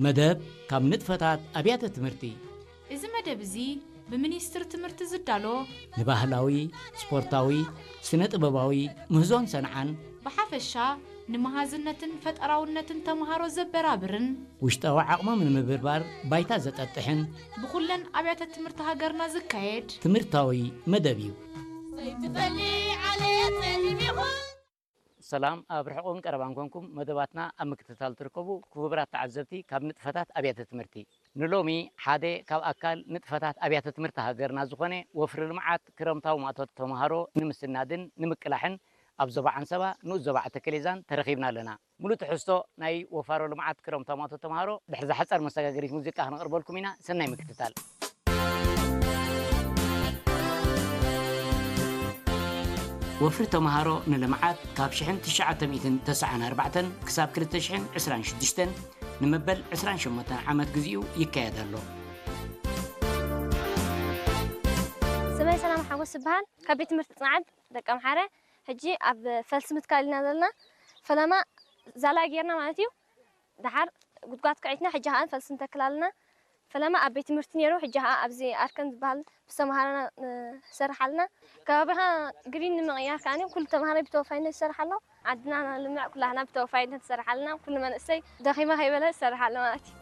መደብ ካብ ንጥፈታት ኣብያተ ትምህርቲ። እዚ መደብ እዚ ብሚኒስትር ትምህርቲ ዝዳሎ ንባህላዊ፣ ስፖርታዊ፣ ስነ ጥበባዊ ምህዞን ሰንዓን ብሓፈሻ ንመሃዝነትን ፈጠራውነትን ተምሃሮ ዘበራብርን ውሽጣዊ ዓቕሞም ንምብርባር ባይታ ዘጠጥሕን ብኩለን ኣብያተ ትምህርቲ ሃገርና ዝካየድ ትምህርታዊ መደብ እዩ። ሰላም ኣብ ርሕቑን ቀረባን ኮንኩም መደባትና ኣብ ምክትታል ትርከቡ ክቡራት ተዓዘብቲ ካብ ንጥፈታት ኣብያተ ትምህርቲ። ንሎሚ ሓደ ካብ ኣካል ንጥፈታት ኣብያተ ትምህርቲ ሃገርና ዝኾነ ወፍሪ ልምዓት ክረምታዊ ማእቶት ተምሃሮ ንምስናድን ንምቅላሕን ኣብ ዞባ ዓንሰባ ንኡስ ዞባ ዓተከሌዛን ተረኺብና ኣለና። ሙሉእ ትሕዝቶ ናይ ወፋሮ ልምዓት ክረምታዊ ማእቶት ተምሃሮ ድሕሪ ዝሓጸር መሰጋገሪት ሙዚቃ ክነቕርበልኩም ኢና። ሰናይ ምክትታል። ወፍሪ ተምሃሮ ንልምዓት ካብ ሽሕን ትሽዓተ ሚእትን ተስዓን ኣርባዕተን ክሳብ ክልተ ሽሕን ዕስራን ሽዱሽተን ንመበል ዕስራን ሸሞንተን ዓመት ግዚኡ ይካየድ ኣሎ። ስመይ ሰላም ሓጎስ ይበሃል። ካብ ቤት ትምህርቲ ጽንዓት ደቀምሓረ። ሕጂ ኣብ ፈልሲ ምትካል ኢና ዘለና። ፈለማ ዛላ ጌርና ማለት እዩ። ደሓር ጉድጓድ ክዒትና ሕጂ ኸዓ ፈልሲ ንተክል ኣለና። ፈለማ ኣብ ቤት ትምህርቲ ነይሩ፣ ሕጂ ኸዓ ኣብዚ ኣርከን ዝበሃል ብዝተምሃረና ንሰርሕ ኣለና። ከባቢኻ ግሪን ንምቕያር ከዓኒ ኩሉ ተምሃራይ ብተወፋይነት ይሰርሕ ኣሎ። ዓድና ንልምዕ ኩላህና ብተወፋይነት ንሰርሕ ኣለና። ኩሉ መንእሰይ ደኺመ ከይበለ ዝሰርሕ ኣሎ ማለት እዩ።